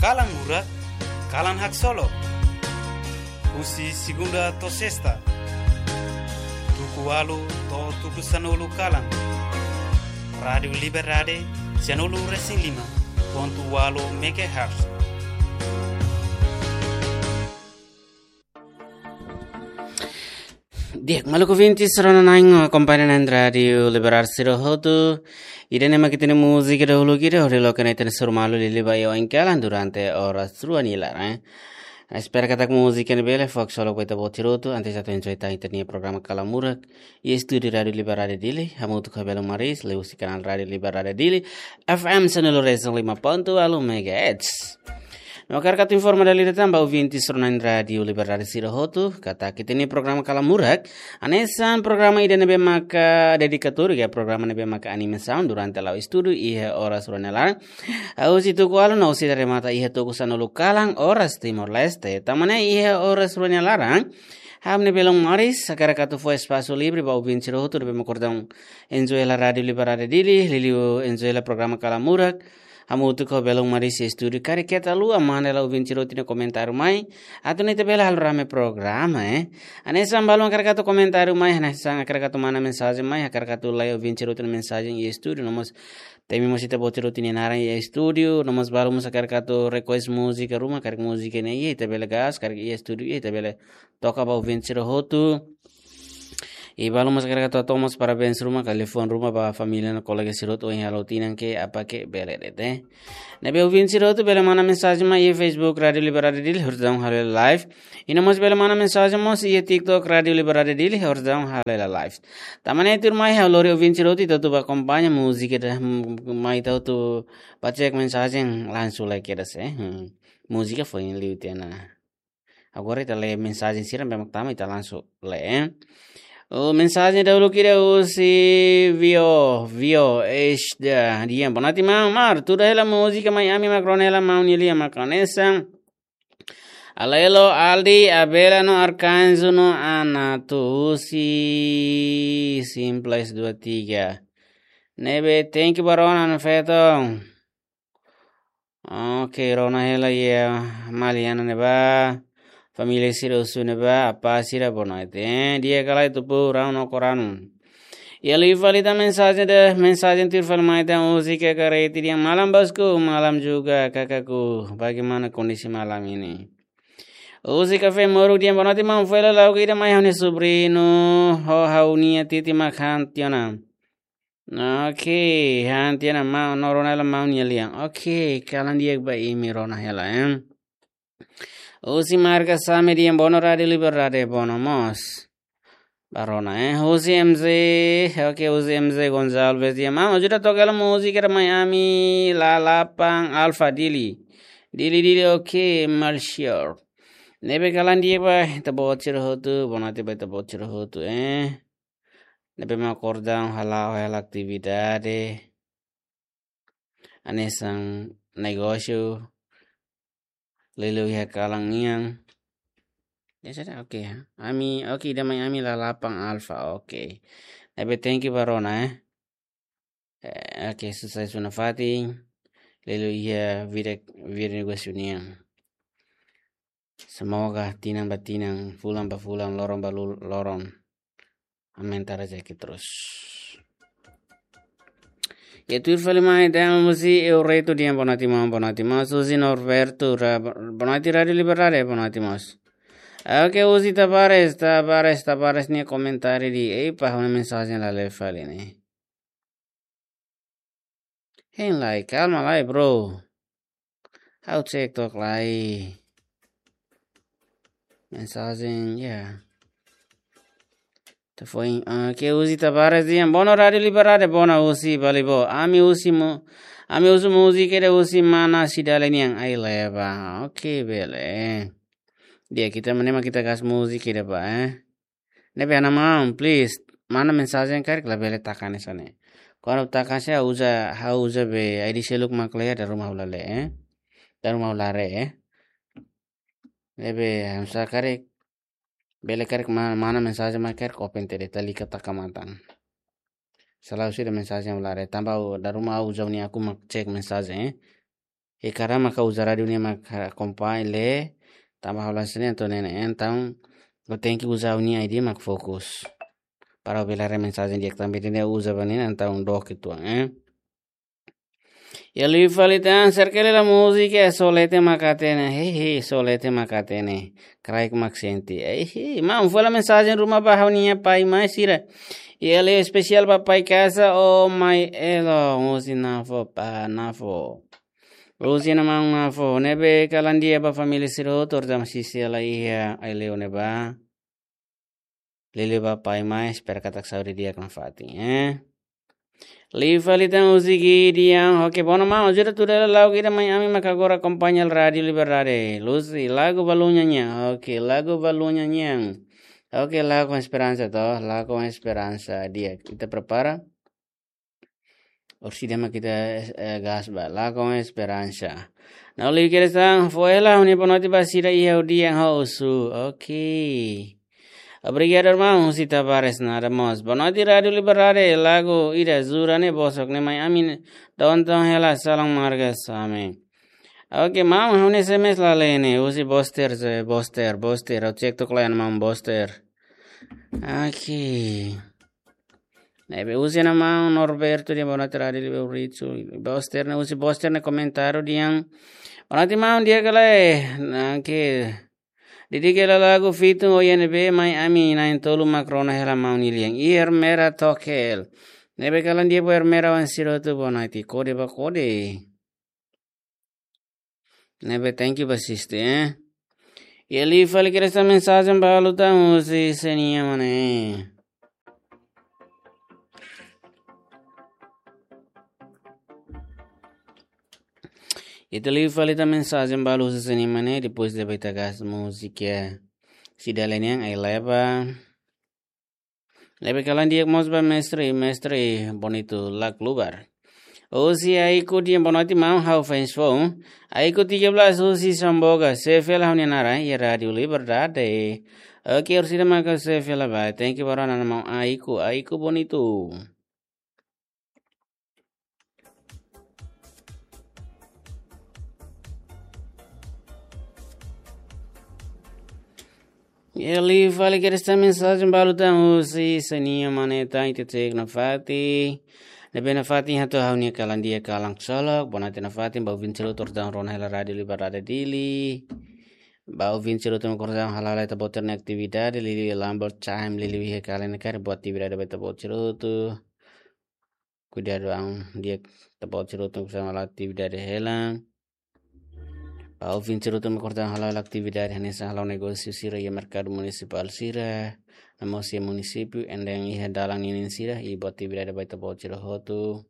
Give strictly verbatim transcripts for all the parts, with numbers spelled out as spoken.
Kalan Murak, kalan haksolok. Husi segunda to'o sesta, tuku ualu to'o tuku sanulu kalan. Rádiu Liberdade, sanulu resin lima pontu ualu megahertz. Di'ak, maluk ouvintes, rona na'in, akompaña na'in Rádiu Liberdade sira hotu. Ida-ne'e mak ita-nia múzika dahuluk ida, hodi loke na'in ita-nia suru malu liuliu ba iha oin kalan durante oras rua nia laran, eh. Espera katak múzika ne'e bele fó haksolok ba ita-boot sira hotu, antes atu enjoy tan ita-nia programa Kalan Murak. Iha estúdiu Rádiu Liberdade Dili, hamutuk ho belun maris, liuhusi kanál Rádiu Liberdade Dili, F M sanulu resin lima pontu ualu megahertz. No hakarak atu informa dala ida tan ba ouvintes rona na'in Rádiu Liberdade sira hotu, katak ita-nia programa Kalan Murak, hanesan programa ida ne'ebé maka dedikatóriu, ka programa ne'ebé maka animasaun durante la'o estúdiu iha oras rua nia laran. Husi tuku ualu no sei remata iha tuku sanulu kalan oras Timor-Leste. Tanba ne'e iha oras rua nia laran, ha'u-nia belun maris hakarak atu fó espasu livre ba ouvinte sira hotu ne'ebé mak kordang enjoy hela Rádiu Liberdade Dili, liuliu enjoy hela programa Kalan Murak. Hamutuk ho belun maris iha estúdiu, karik keta haluha manda hela ouvinte sira hotu nia komentáriu mai, atu nune'e ita bele halo rame programa, eh. Hanesan balun hakarak atu komentáriu mai, hanesan hakarak atu manda mensajen mai, hakarak atu lee ouvinte sira hotu nia mensajen iha estúdiu, no mós temi mós ita-boot sira hotu nia naran iha estúdiu, no mós balun mós hakarak atu request múzika ruma, karik múzika ne'e iha ita bele gas, karik iha estúdiu iha ita bele toka ba ouvinte sira hotu. I balun mós hakarak atu hato'o mós parabéns ruma, ka liafuan ruma ba família no kolega sira hotu ohin halo tinan ke'e, apa ke'e bele de'it, eh. Ne'ebé ouvinte sira hotu bele manda mensajen mai iha Facebook Rádiu Liberdade Dili, horizon halo live. I no mós bele manda mensajen mós iha TikTok Rádiu Liberdade Dili, horizon halo live. Tanba ne'e tuirmai ha'u lori ouvinte sira hotu ita hotu ba akompaña múzika ida, mm, mai ita hotu ba check mensajen langsung lai kedas, eh. Hmm. Múzika foin liu tiha ona. Agora ita lee mensajen sira ne'ebé mak tama, ita langsung lee, eh. O mensajen dahuluk ida husi Vio, Vio, eish da, di'ak, boa noite, maun. Maun, tuda hela múzika mai ami mak rona hela maun nia lian mak hanesan Alelo, Aldi, Abela no Arkanjo no Ana, husi Simples dua tiga. Ne'ebé, thank you ba rona, no feto. Oke, rona hela iha Maliana ne'ebá, família sira husu ne'ebá, apá sira boa noite. Eh, di'ak ka lae tupu, rau no koranu. Iha liu fali tan mensajen ida, mensajen tuir fali mai tan husi Kaka Reti di'ak, malam bosku, malam juga kakakku. Bagaimana kondisi malam ini? Husi Kafé Moruk di'ak, boa noite maun, fó hela lagu ida mai ha'u-nia sobriñu, ho ha'u-nia titi mak han tiha ona. Oke, han tiha ona maun, no rona hela maun nia lian. Oke, kalan di'ak ba imi, rona hela, eh. Husi Marga Same di'ak, boa noite Rádiu Liberdade, boa noite mós ba rona, eh. Husi M Z, oke, husi M Z Gonçalves di'ak, maun, ajuda toka hela múzika ida mai ami, Lalapan Alfa Dili. Dili, Dili, oke, Marshall. Ne'ebé kalan di'ak ba ita-boot sira hotu, boa noite ba ita-boot sira hotu, eh. Ne'ebé mak kordang hala'o hela atividade hanesan negósiu, liuliu iha kalan nian. Ya sudah, oke ya. Ami, oke, ida mai ami Lalapan Alfa, oke. Ne'ebé thank you ba rona, eh. Eh, oke, sukses ba nafatin. Liuliu iha vida, vida negósiu nian. Semoga tinan ba tinan, fulan ba fulan, loron ba lu-, loron, aumenta rezeki terus. Ya, tuir fali mai, temos husi Eureto di'ak, boa noite maun, boa noite maun. Husi Norberto, ra-, boa noite Rádiu Liberdade, boa noite maun. Oke, husi Tavares, Tavares, Tavares nia komentáriu de'it, epa, ha'u-nia mensajen la lee fali ne'e. Hein lai, kalma lai, bro. Ha'u cek took lai. Mensajen, ya. Telefone, ah, ke husi Tavares di'ak, boa noite Rádiu Liberdade, boa noite husi Balibo. Ami husu mu-, ami husu múzika ida husi mana Sidale nian, ai leba. Oke, bele. Di'ak, ita mane mak ita gas múzika ida ba, eh. Ne'ebé, maun, please, manda mensajen karik labele taka hanesan ne'e. Kuandu taka hanesan ne'e, ha'u uza, ha'u uza be, I D seluk mak lea, dala ruma ha'u la lee, eh. Dala ruma ha'u la haree, eh. Ne'ebé, hanesan karik, bele karik ma-, manda mensajen mak karik open tiha de'it, lalika taka matan. Selalu sira mensajen ha'u la haree, tanba ha'u, dala ruma ha'u uza nia akun mak cek mensajen, eh. E kada maka uza rádiu ne'e maka akompaña le, tanba ha'u la sente entaun ne'e, entaun, ha'u tenke uza ha'u-nia I D mak fokus. Para bele haree mensajen di'ak tanba ida-ne'e uza ba ne'e, entaun dook uitoan, eh. Iha liu fali tan, serkele la múzika, só leten mak hatene, hehe, só leten mak hatene, kraik mak sente, hehe, maun, fó hela mensajen ruma ba ha'u-nia pai mai sira. Iha liu espesiál ba pai kasa, oh mai elo, husi Nafo, pa Nafo. Husi Nafo, Nafo, ne'ebé kalan di'ak ba família sira hotu, ora jam sisi la iha, ai leu ne'ebá. Liuliu ba pai mai, espera katak saúde di'ak nafatin, eh. Liu fali tan husi Gideon, oke, bono maun, ajuda tuda hela lagu ida mai ami maka agora akompaña Rádiu Liberdade. Lucy, lagu Balunya Nyan, oke, lagu Balunya Nyan. Oke, Lago Esperansa to, Lago Esperansa di'ak. Ita prepara. Orsida mak ita, eh, gas ba, Lago Esperansa. Nau liu kedas tan, fó hela ha'u-nia boa noite ba sira iha hodi yang ho usu. Oke. Obrigadu, irmaun, husi Tavares, nada mós. Boa noite, Rádiu Liberdade, lagu ida jura ne'e bosok ne'e mai ami ne'e. Tonton hela, salam marga Same. Oke, maun, ha'u-nia S M S la lee ne'e, husi Boster, eh, Boster, Boster, ha'u cek tok lain maun Boster. Oke. Ne'ebé husi ona maun Norberto dehan boa noite Rádiu Liber Ritsu. Boster ne'e, husi Boster ne'e komentáriu dehan. Boa noite maun, di'ak ka lae. Nake. Didik hela lagu Fitun, oh iha ne'ebé mai ami na'in-tolu mak rona hela maun nia lian. Iha Ermera Tokel. Ne'ebé kalan di'ak ba Ermera wan sira hotu boa noite. Kode ba kode. Ne'ebé thank you ba sister, eh. Iha liu fali kedas tan mensajen balu tan husi Senia Mane. Ita liu fali tan mensajen balu husi Senia Mane, depois ida-ne'e ita gas múzika. Sida lenian ai leba. Ne'ebé kalan di'ak mós ba mestre, mestre Bonito Lak Lubar. Husi Aiku dehan boa noite maun, ha'u fans foun. Aiku tiga belas husi Samboga, xefe hela ha'u-nia naran iha Rádiu Liberdade. Oke, orsida maka xefe hela ba. Thank you ba rona maun Aiku, Aiku Bonito. Iha liu fali kedas tan mensajen balu tan husi Senia Mane tan, ita cek nafatin. Ne'ebé nafatin hato'o ha'u-nia kalan di'ak kalan ksolok. Boa noite nafatin ba ouvinte sira hotu ora jam rona hela Rádiu Liberdade Dili. Ba ouvinte sira hotu mak ora jam hala'o lai ita-boot nia atividade, liuliu Lambert Chaim, liuliu iha Kalenikar, boa atividade ba ita-boot sira hotu. Kuidadu an di'ak ita-boot sira hotu mak ora jam hala'o atividade hela. Ba ouvinte sira hotu mak ora jam hala'o atividade hanesan hala'o negósiu sira iha merkadu munisipál sira, no mós iha munisípiu, enda iha dalan ninin sira, i boa atividade ba ita-boot sira hotu.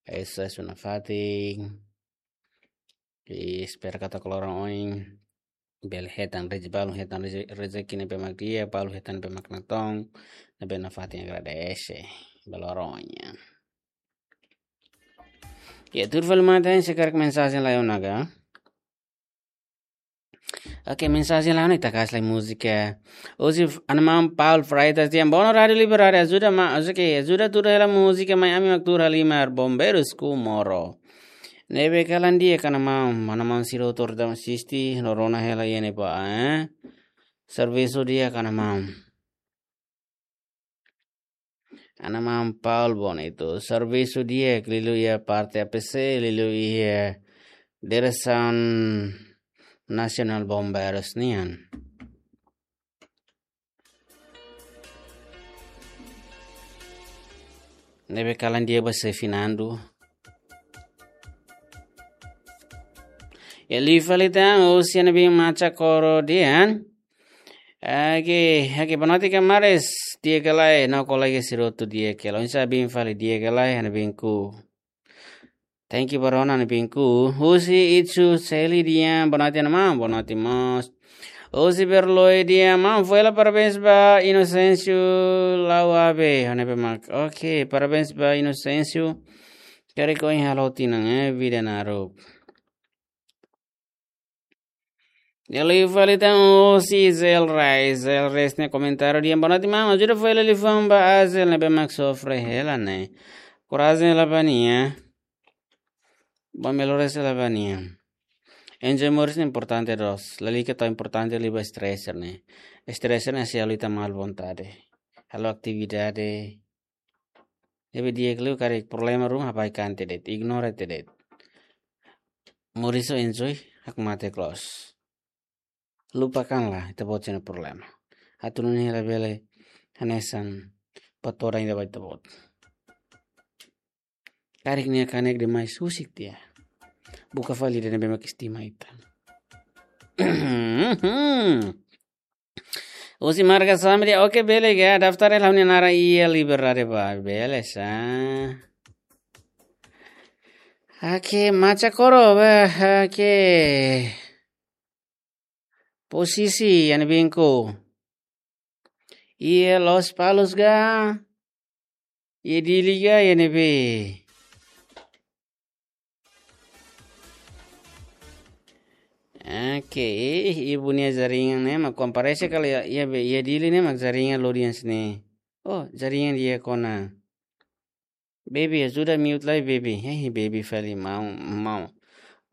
Esa suna fatin. I espera katak loron oin bele hetan rejeki, balun hetan reje-, rejeki ne'ebé mak di'ak, balun hetan ne'ebé mak natoon, ne'ebé nafatin agradese ba loron oin nian. Iha tuir fali matan, se karik mensajen lai ona ka. Oke, mensajen lai ona, ita gas lai múzika. Husi f-, ana maun Paul Freitas dehan bono Rádiu Liberdade ajuda ma, ajuda ke, ajuda tuur hela múzika mai ami mak tuur halimar Bombeiros Comoro. Ne'ebé kalan di'ak ka ana maun, ana maun sira hotu ora jam asiste, no rona hela iha ne'ebá, eh. Servisu di'ak ka ana maun. Ana maun Paul Bonito, servisu di'ak liuliu iha parte A P C, liuliu iha Diresaun Nasionál Bombeiros nian. Ne'ebé kalan di'ak ba xefe Nando. Iha liu fali tan, husi Ana Bin Macha Koro dehan. Oke, oke, boa noite kamares, di'ak ka lae, no kolega sira hotu di'ak ka lae, oinsá Bin fali di'ak ka lae, Ana Bin Ku. Thank you ba rona Ana Bin Ku. Husi Itsu Seli dehan, boa noite ana maun, boa noite mós. Husi Berloi dehan, maun fó hela parabéns ba Inocêncio Lauabe, ne'ebé mak. Oke, parabéns ba Inocêncio. Karik ohin halo tinan, eh, vida naruk. Iha liu fali tan husi Zel Reis, Zel Reis nia komentáriu dehan boa noite maun, ajuda fó hela liafuan ba Azel ne'ebé mak sofre hela ne'e. Korajen hela ba nia. Ba melhores ela ba nian. Enjoy moris ne'e importante loos. Lalika tau importante liu ba stress ne'e. Stress ne'e sei halo ita malu vontade. Halo atividade. Ne'ebé di'ak liu karik problema ruma habai kan te de'it. Ignora te de'it. Moris ho enjoy, hakmatek loos. Lupakanlah ita-boot sira-nia problema. Atu nune'e labele hanesan patora inda ba ita-boot. Karik nia kanek demais husik tiha. Buka fali ida ne'ebé mak estima ita. Husi marka Samri, oke, bele ga, daftar hela ha'u-nia naran iha Liberdade ba, bele sa. Oke, Macha Koro ba, oke. Posisi iha ne'ebé ko. Iha Lospalos ga. Iha Dili ga iha ne'ebé. Oke, ibu nia jaringan ne'e mak komparese kala iha, iha be, iha Dili ne'e mak jaringan lodian sini. Oh, jaringan di'ak ona. Baby, ajuda mute lai, baby. Hei, baby fali, maun, maun.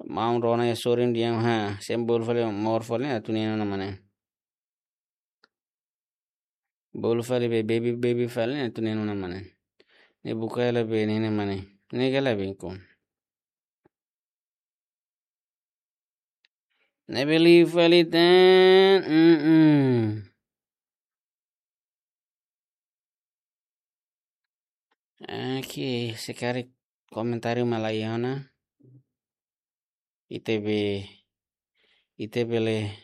Maun rona iha sorin di'ak ha. Sembol fali, mor fali, atu neno na mane. Bolu fali be, baby, baby fali, atu neno na mane. Ne'e buka hela be, nene mane. Ne'e gala be ko. Ne'ebé liu fali tan, mm-mm. Oke, se karik komentáriu mak laiha ona. Ita be, ita bele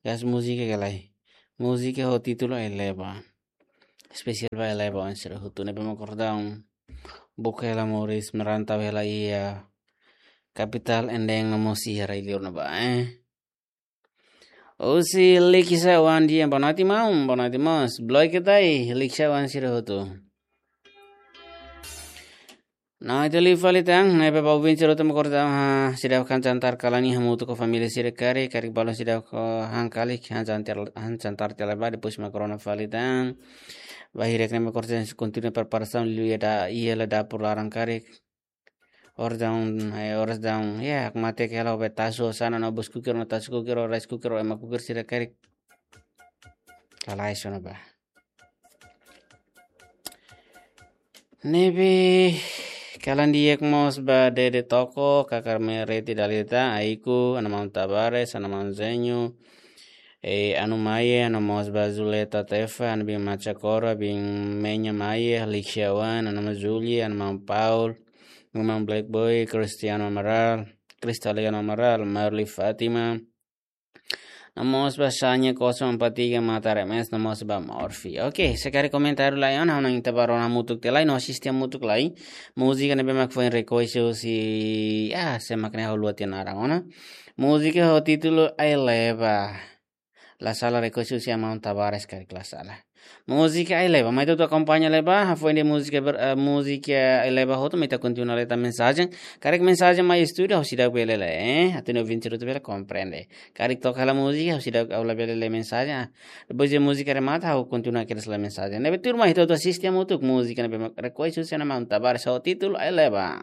gas múzika ka lae. Múzika ho títulu Eleva. Espesiál ba Eleva oan sira hotu ne'ebé mak kordau. Buka hela moris, merantau hela iha kapitál endeng no mós iha rai-liur ne'ebá, eh. Husi Likisá oan di'ak, boa noite maun, boa noite mós. Bloke tai, Likisá oan sira hotu. Nah, ita liu fali tan, ne'ebé ba ouvinte sira hotu mak kordau, ha, seidauk han jantar kalan ne'e hamutuk ho família sira karik, karik balun seidauk han karik, han jantar, han jantar tiha lai ba, depois mak rona fali tan. Ba hirak ne'e mak kordau kontinua preparasaun liu iha da, iha la dapur laran karik. Orasaun, eh, orasaun, ya, hakmatek hela ho be tasu sana no bus cooker no tasu cooker no rice cooker no ema cooker sira karik. Lalais ona ba. Ne'ebé kalan di'ak mós ba Dede Toko, Kakar Mereti Dalita, Aiku, Ana Maun Tabares, Ana Maun Zenyu, eh, Anu Maye, Ana mós ba Zuleta Tefa, Ana Bin Macha Koro, Bin Menya Maye, Lixiawan, Ana Maun Julie, Ana Maun Paul, Ana Maun Black Boy, Cristiano Amaral, Cristaliano Amaral, Marli Fátima, Ana mós ba Sanya kosong empat tiga Matar M S, Ana mós ba Morfi. Oke, se karik komentáriu laiha ona, ha'u hanoin ita bá rona hamutuk tiha lai, no asiste hamutuk lai. Múzika ne'ebé mak foin request husi, ah, sé mak ne'e ha'u haluha tiha naran ona. Múzika ho títulu Eleva. La sala request husi Ana Maun Tabares karik la sala. Múzika Eleva, mai ita akompaña Eleva, hafoin de'it múzika ber-, eh, múzika Eleva hotu, mai ita kontinua leta mensajen. Karik mensajen mai estúdiu, ha'u seidauk bele lee, eh, atu nune'e ouvinte sira hotu bele komprende. Karik toka hela múzika, ha'u seidauk, ha'u labele lee mensajen, ah. Depois de múzika remata, ha'u kontinua kedas lee mensajen. Ne'ebé turma, ita hotu asiste hamutuk múzika ne'ebé mak request husi Ana Maun Tabares ho títulu Eleva.